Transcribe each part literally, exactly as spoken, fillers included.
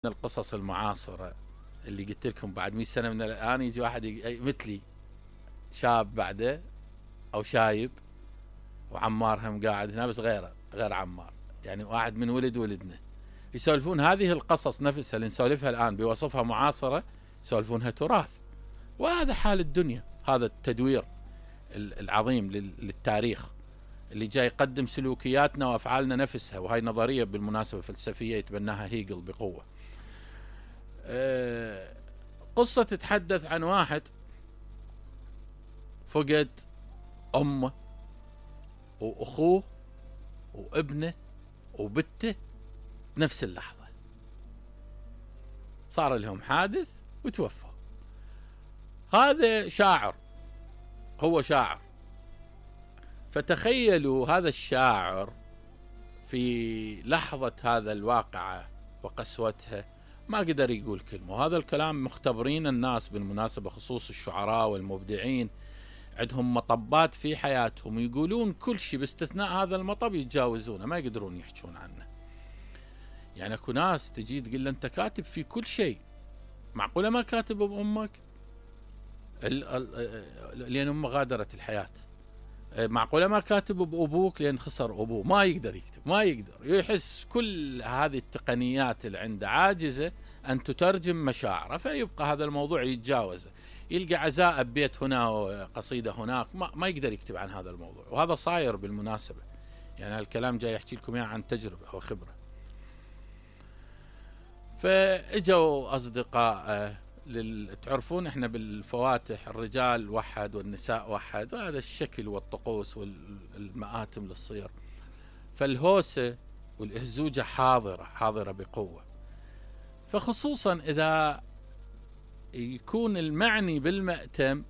من القصص المعاصرة اللي قلت لكم بعد مئة سنة من الآن يجي واحد مثلي شاب بعده أو شايب، وعمار هم قاعد هنا بس غيره غير عمار، يعني واحد من ولد ولدنا، يسولفون هذه القصص نفسها اللي نسولفها الآن بوصفها معاصرة، يسولفونها تراث. وهذا حال الدنيا، هذا التدوير العظيم للتاريخ اللي جاي يقدم سلوكياتنا وأفعالنا نفسها. وهي نظرية بالمناسبة فلسفية يتبناها هيجل بقوة. قصة تتحدث عن واحد فقد أمه وأخوه وابنه وبته بنفس اللحظة، صار لهم حادث وتوفوا. هذا شاعر، هو شاعر، فتخيلوا هذا الشاعر في لحظة هذا الواقعة وقسوتها ما قدر يقول كلمة. وهذا الكلام مختبرين الناس بالمناسبة، خصوص الشعراء والمبدعين، عندهم مطبات في حياتهم يقولون كل شيء باستثناء هذا المطب يتجاوزونه، ما يقدرون يحجون عنه. يعني اكو ناس تجي تقول له انت كاتب في كل شيء، معقولة ما كاتب بأمك لأن أمه غادرت الحياة؟ معقولة ما كاتب بأبوك لأن خسر أبوه؟ ما يقدر يكتب، ما يقدر، يحس كل هذه التقنيات اللي عنده عاجزة أن تترجم مشاعره، فيبقى هذا الموضوع يتجاوزه. يلقى عزاء ببيت هنا وقصيدة هناك، ما, ما يقدر يكتب عن هذا الموضوع. وهذا صاير بالمناسبة، يعني الكلام جاي يحكي لكم يعني عن تجربة وخبرة. فاجوا أصدقاء لل... تعرفون احنا بالفواتح الرجال وحد والنساء وحد، وهذا الشكل والطقوس والمآتم للصير. فالهوسة والإهزوجة حاضرة حاضرة بقوة، فخصوصا إذا يكون المعني بالمأتم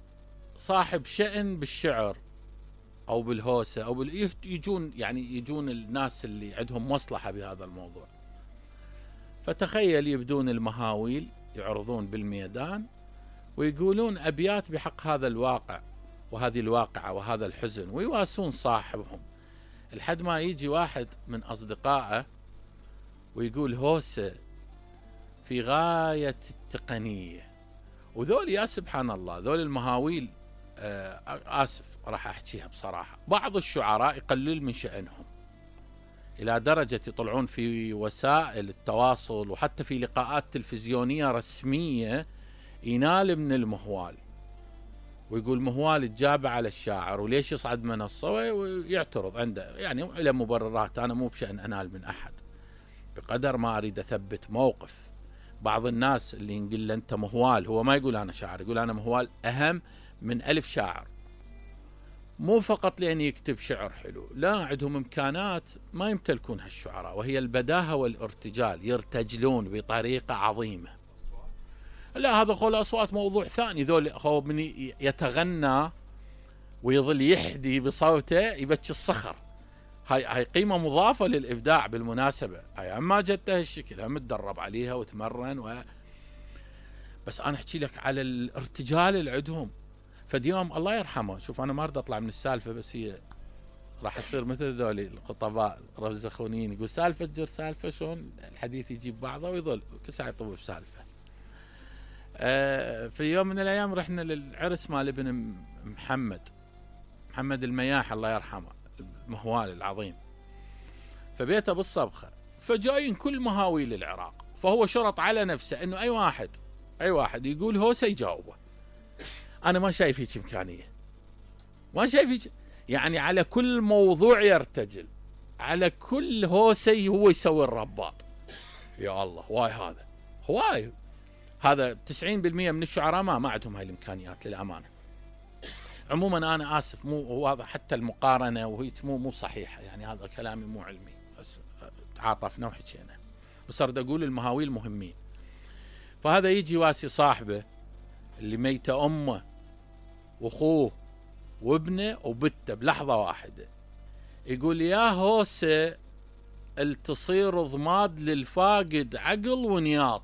صاحب شأن بالشعر أو بالهوسة أو بال... يجون يعني يجون الناس اللي عندهم مصلحة بهذا الموضوع. فتخيل يبدون المهاويل يعرضون بالميدان ويقولون أبيات بحق هذا الواقع وهذه الواقعة وهذا الحزن، ويواسون صاحبهم، لحد ما يجي واحد من أصدقائه ويقول هوسة في غاية التقنية. وذول يا سبحان الله، ذول المهاويل آه آسف راح أحكيها بصراحة، بعض الشعراء يقلل من شأنهم إلى درجة يطلعون في وسائل التواصل وحتى في لقاءات تلفزيونية رسمية ينال من المهوال ويقول مهوال تجاب على الشاعر وليش يصعد منصة، ويعترض عنده يعني إلى مبررات. أنا مو بشأن أنال من أحد، بقدر ما أريد أثبت موقف. بعض الناس اللي نقول له أنت مهوال، هو ما يقول أنا شاعر، يقول أنا مهوال أهم من ألف شاعر، مو فقط لأن يكتب شعر حلو، لا، عندهم إمكانات ما يمتلكونها الشعراء، وهي البداهة والارتجال، يرتجلون بطريقة عظيمة. لا، هذا قول أصوات موضوع ثاني. ذول هو من يتغنى ويظل يحدي بصوته يبكي الصخر، هاي هاي قيمة مضافة للإبداع بالمناسبة. هاي ما جت هالشكل، هم متدرب عليها وتمرن و... بس أنا أحكي لك على الارتجال اللي عندهم. فديوم الله يرحمه، شوف أنا ما أريد أطلع من السالفة، بس هي راح أصير مثل ذولي الخطباء رزخونين، يقول سالفة تجر سالفة، شلون الحديث يجيب بعضه ويظل كل ساعة يطوف بسالفة. آه في يوم من الأيام رحنا للعرس مال ابن محمد محمد المياح الله يرحمه، المهوال العظيم، فبيته بالصبخة، فجايين كل مهاويل العراق، فهو شرط على نفسه إنه أي واحد أي واحد يقول هوسة يجاوبه. أنا ما شايف هيك إمكانية، ما شايف هيك، يعني على كل موضوع يرتجل، على كل هوسة هو يسوي الرباط. يا الله، واي هذا هواي، هذا تسعين بالمئة من الشعراء ما ما عندهم هاي الإمكانيات للأمانة. عموما أنا آسف، مو هذا حتى المقارنة وهي مو مو صحيحة، يعني هذا كلامي مو علمي، بس تعاطفنا وحكينا، بس أريد أقول المهاويل مهمين. فهذا يجي واسي صاحبه اللي ميتة أمه وأخوه وابنه وبته بلحظة واحدة، يقول يا هوسة التصير ضماد للفاقد عقل ونياط.